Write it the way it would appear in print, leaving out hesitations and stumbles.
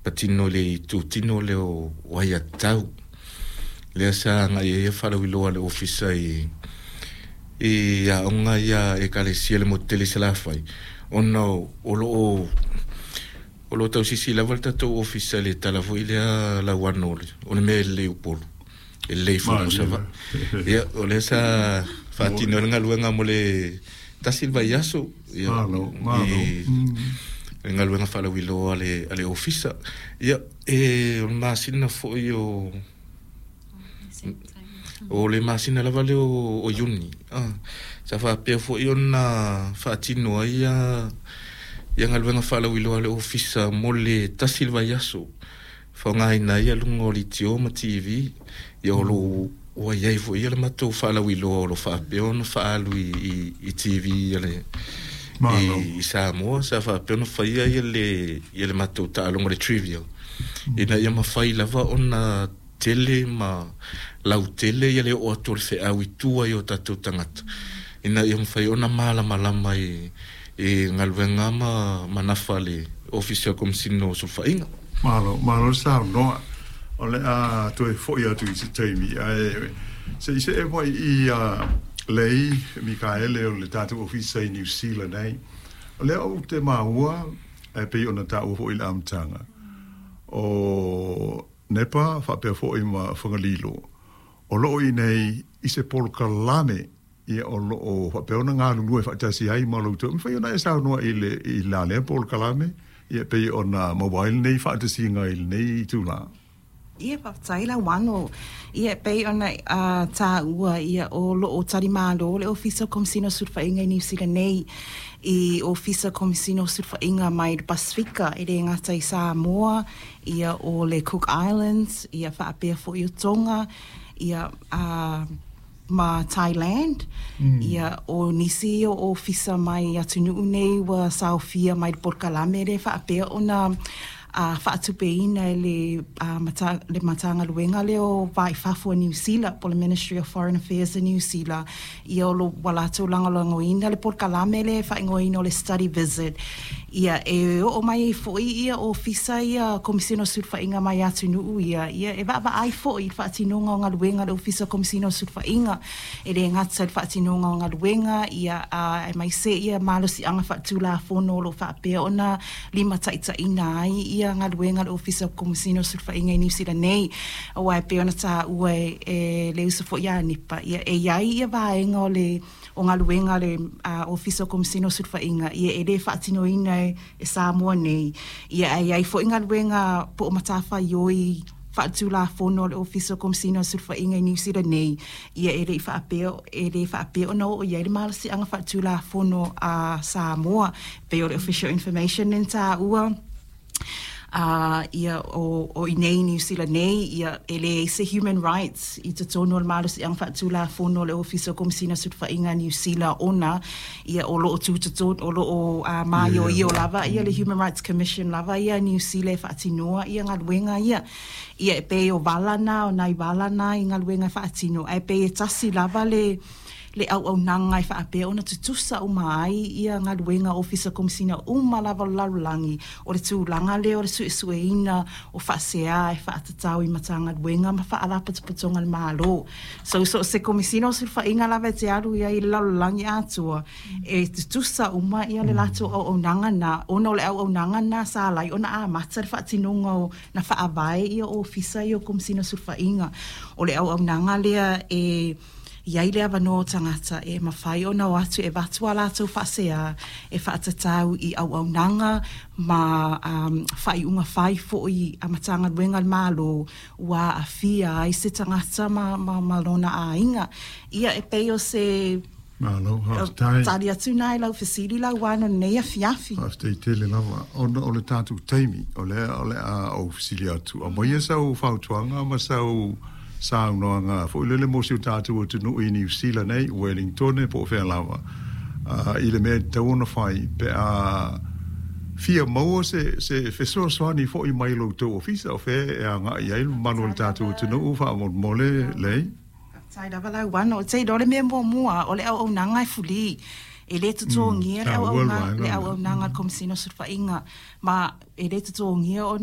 patino i le itutino lea o aiatatau. Lea sa agai ai faalauiloa a le Ofisa i aoga ia a Ekalesia i le motu tele i Salafai, ona o lo o tausisi lava le tatou Ofisa i le tala foi lea lauano o le mea e lelei i Upolu, e lelei foi mo Savaii. Ia, o lea sa faatino ai le galuega mo le tasi le vaiaso, ia, i le galuega faalauiloa a le Ofisa. Ia, o le masina foi o le masina lava lea o Iuni, sa faapea foi ona faatino ai ia galuega faalauiloa a le Ofisa mo le tasi le vaiaso, faaaogaina ai luga o leitio ma TV. Ia, o lo ua i ai foi le matou faalauiloa o lo faapea ona faaalu i TV i Samoa. Sa faapea ona faia ia le matou taaloga le trivia, ina ia mafai lava ona tele ma lautele ia le oo atu o le feau i tua i o tatou tagata, ina ia mafai ona malamalama i galuega ma nafa le Ofisa o Komesina o Sulufaiga. Malo saunoa. O le a toe foi atu i se taimi. Ae se i see mai i lei Mikaele o le tatou ofisa i Niu Sila nei. O lea ou te maua e pei ona taua foi i le amataga o Nepa faapea foi ma Fagalilo, o loo i nei i se polokalame, ia o loo faapea ona galulue faatasi ai ma lo outou. Mafai ona e saunoa i le i la lea polokalame, ia pei ona maua ai lenei faatasiga i lenei itula? Ia, faafetai Lauano. Ia, pei ona taua, ia, o loo talimalo le Ofisa o Komesina o Sulufaiga i Niu Sila nei i Ofisa Komesina o Sulufaiga mai le Pasifika, e le gata i Samoa, ia, o le Cook Islands, ia, faapea foi o Tonga, ia, ma Thailand. Ia, o nisi o ofisa mai atunuu nei ua saofia mai le polokalame le faapea ona faatupeina e le le Matagaluega lea o Va i Fafo a Niu Sila, po o le Ministry of Foreign Affairs a Niu Sila. Ia, o lo ua latou lagolagoina le polokalame lea e faaigoaina o le study visit. Ia, e oo mai ai foi ia ofisa ia Komesina o Sulufaiga mai atunuu ia, ia, e vaavaai foi i le faatinoga o galuega a le Ofisa o Komesina o Sulufaiga, e le gata i le faatinoga o galuega, ia, aemaise ia malosiaga faatulafono o lo o faapea ona limataitaiina ai ia galuega a le Ofisa o Komesina o Sulufaiga i Niu Sila nei. Aua e pei ona taua e le uso foi ia Nepa, ia, e i ai ia vaega o le o galuega a le Ofisa o Komesina o Sulufaiga, ia, e le faatinoina e Samoa nei, ia, ae i ai foi galuega po o matafaioi faatulafono a le Ofisa o Komesina o Sulufaiga i Niu Sila nei, ia, e le faapea ona oo i ai le malosiaga faatulafono a Samoa, pei o le official information lea na taua. Ia, o i nei Niu Sila nei, ia, e leai se human rights i totonu o le malosiaga faatulafono o le Ofisa o Komesina o Sulufaiga a Niu Sila, ona, ia, o loo tutotonu, o loo maioio lava ia le Human Rights Commission lava ia a Niu Sila e faatinoa ia galuega ia. Ia, e pei o vala na, o nai vala na i galuega e faatino, ae pei e tasi lava le auaunaga e faapea ona tutusa uma ai ia galuega ofisa komesina uma lava o le lalolagi, o le tulaga lea o le suesueina o faasea e faatatau i Matagaluega ma faalapotopotoga a le Malo. So o se Komesina o Sulufaiga lava e te alu i ai i le lalolagi atoa, e tutusa uma ia le latou auaunaga na, ona o le auaunaga na sa ala ai ona amata le faatinoga o na faavae ia ofisa ia o Komesina o Sulufaiga. O le auaunaga lea e i ai le avanoa o tagata e mafai ona o atu e avatu a latou faasea e faatatau i auaunaga ma faaiuga fai foi a Matagaluega a le Malo ua aafia ai se tagata ma lona aiga. Ia, e pei o se Malo, faafetai. Tali atu na i lau fesili Lauano i lenei afiafi. Faafetai tele lava. Ona o le tatou taimi, o lea o le a ou fesili atu, aumaia sau fautuaga ma sau saunoaga foi lele mo si o tatou atunuu i Niu Sila nei, Wellington po o fea lava, i le mea e tatau ona fai pe a fia maua se fesoasoani foi mai lo outou ofisa, o fea e agai ai le mamalu o le tatou atunuu faamolemole lei? Faafetai lava Lauano. Te iloa le mea muamua, o le auaunaga e fuli. E le totogia le auaunaga a le Komesina o Sulufaiga, ma e le totogia ona o